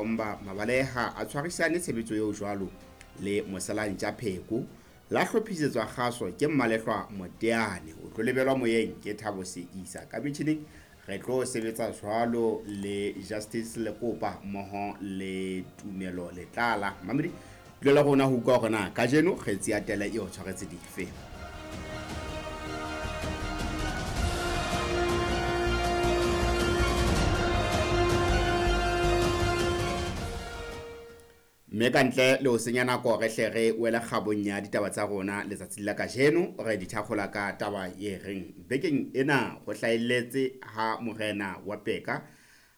Makhomba Mabaleha a tshwarisane tshebetso eo jwalo le Moselantja Pheko. La hlophisetswa kgaso ke Mmalehlwa Moteane. O tlo lebelwa moyeng ke Thabo Seisa. Ka metjhining re tlo sebetsa jwalo le Justice Lekopa mmoho le Tumelo Letlala. Mamedi, dula le rona ho utlwa hore na kajeno kgetsi ya tele e o tshwaretse dife. Mme ka ntle le ho senya nako re hle re wele kgabong ya ditaba tsa rona letsatsing la kajeno, re di thakgola ka taba e reng bekeng ena ho hlahelletse ha morena wa Peka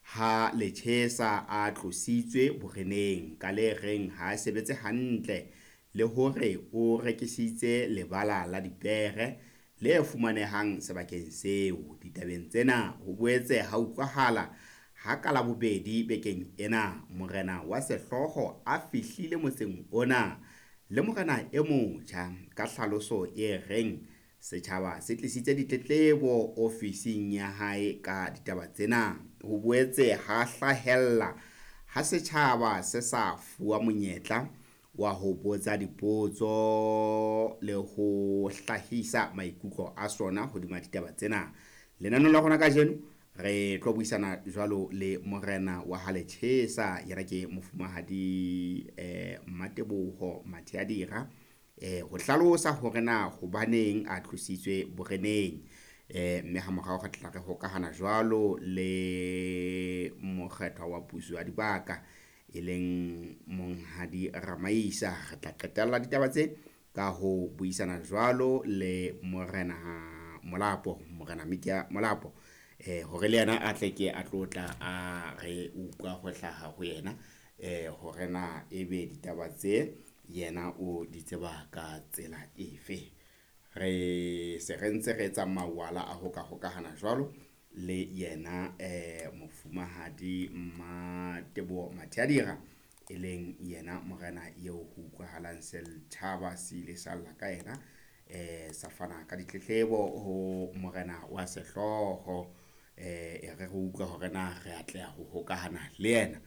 ha Lechesa a tlositswe boreneng ka le reng ha a sebetse hantle le hore o rekisitse lebala la dipere le fumanehang sebakeng seo. Ditabeng tsena ho boetse ha utlwahala ha ka Labobedi bekeng ena morena wa sehlooho a fihlile motseng ona le morena e motjha ka hlaloso e reng setjhaba se tlisitse ditletlebo ofising ya hae ka ditaba tsena. Ho boetse ha hlahella ha setjhaba se sa fuwa monyetla wa ho botsa dipotso le ho hlahisa maikutlo a sona hodima ditaba tsena. Lenaneong la rona kajeno re tlo buisana jwalo le morena wa ha Lechesa, yena ke mofumahadi Mmateboho Matheadira, ho hlalosa hore na hobaneng a tlositswe boreneng. Mme ha morao re tla re hokahana jwalo le mokgethwa wa puso ya dibaka e leng Monghadi Ramaisa. Re tla qetella ditaba tse ka ho buisana jwalo le morena Molapo, morena Mikia Molapo, hore le yena a tle ke a tlo tla a re utlwa ho hlaha ho yena, hore na ebe ditaba tse yena o di tseba ka tsela efe. Re se re ntse re etsa mawala a ho ka hokahana jwalo le yena mofumahadi Mmateboho Matheadira, e leng yena morena eo ho utlwahalang setjhaba se ile sa lla ka yena, sa fana ka ditletlebo ho morena wa sehlooho. E re re utlwe hore na re atleha ho hokahana le yena.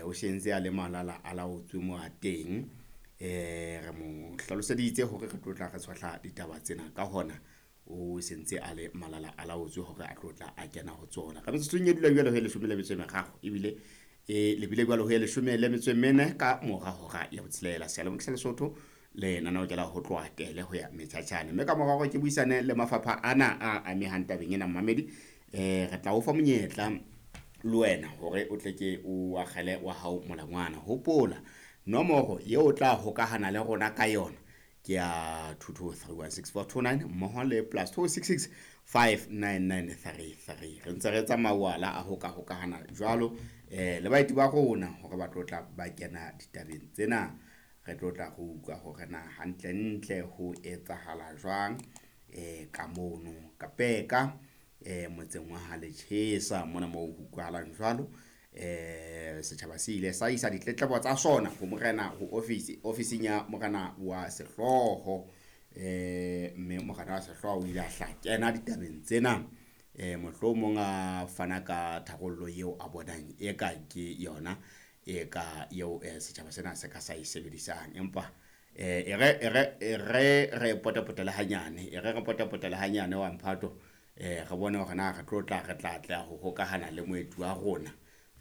O sentse a le malala a laotswe mo a teng. Re mo hlaloseditse hore re tlo tla re tshohla ditaba tsena, ka hona o sentse a le malala a laotswe hore a tlo tla a kena ho tsona. Ka metsotsong e dula jwale ho e 13 ebile e lebile jwale ho e 14 ka mora hora ya botshelela. Seyalemoya sa Lesotho lenaneo ke la ho tloha tele ho ya metjhatjhane. Mme ka mora hore ke buisane le mafapha ana a amehang tabeng ena, mmamedi, re tla o fa monyetla le wena hore o tle ke o akgele wa hao molangwana. Hopola nomoro eo o tla hokahana le rona ka yona ke ya 22316429 mmoho le +266 59933. Re ntse re etsa mawala a ho ka hokahana jwalo le baeti ba rona hore ba tlo tla ba kena ditabeng tsena. Re tlo tla re utlwa hore na hantlentle ho etsahala jwang ka mono ka Peka, motseng wa ha Lechesa mona moo ho utlwahalang jwalo. Setjhaba se ile sa isa ditletlebo tsa sona ho morena, ho office, ofising ya morena wa sehlooho. Mme morena wa sehlooho o ile a hla kena ditabeng tsena, mohlomong a fana ka tharollo eo a bonang eka ke yona e ka eo setjhaba sena se ka sa e sebedisang. Empa e re re potapotele hanyane, e re re potapotele hanyane wa mphato, re bone hore na re tlo tla re tla atleha ho hokahana le moeti wa rona.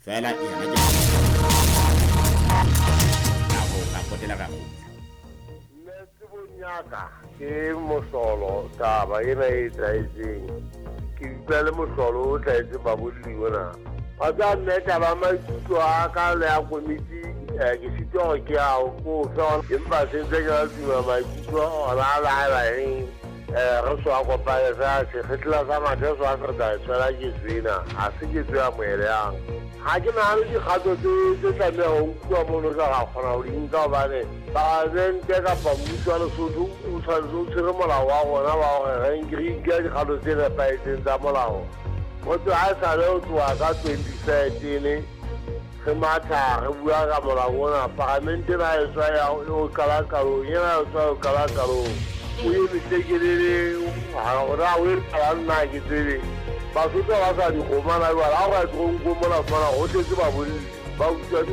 Feela yena ke ra potela ra kgutla. Nne tsebong ya ka ke mohlolo taba ena e etsahetseng. Ke utlwa le mohlolo o hlahetseng babolli ona. Wa tseba mme taba ya maikutlo a ka le ya komiti, ke sitwa hore ke a ko fe, empa se ntse ke la tuma maikutlo ona a la eng, re so a kopane fela sekgetla sa mathe so a se re tla e tshwela ketso ena, ha se ketso ya moeleyang. Ha ke nahane dikgato tse tlameha ho nkuwa mono re ka kgona ho di nka, hobane palamente kapa mmuso wa Lesotho o tshwanetse o tshwere molao wa rona wa hore re nke dikgato tse nepahetseng tsa molao. Ho tloha ha esale ho tloha ka 2013 re matha re bua ka molao ona, palamente ena e tswa ya ho qala qalong, ena e tswa ho qala qalong. O emise kelele, hore ha o etsahalang nna ha ke tsebe. Basotho ba sa dikgomana jwale, ha o ka ya toronkong mona o fumana ho tletse babolli ba utswa dikgomo.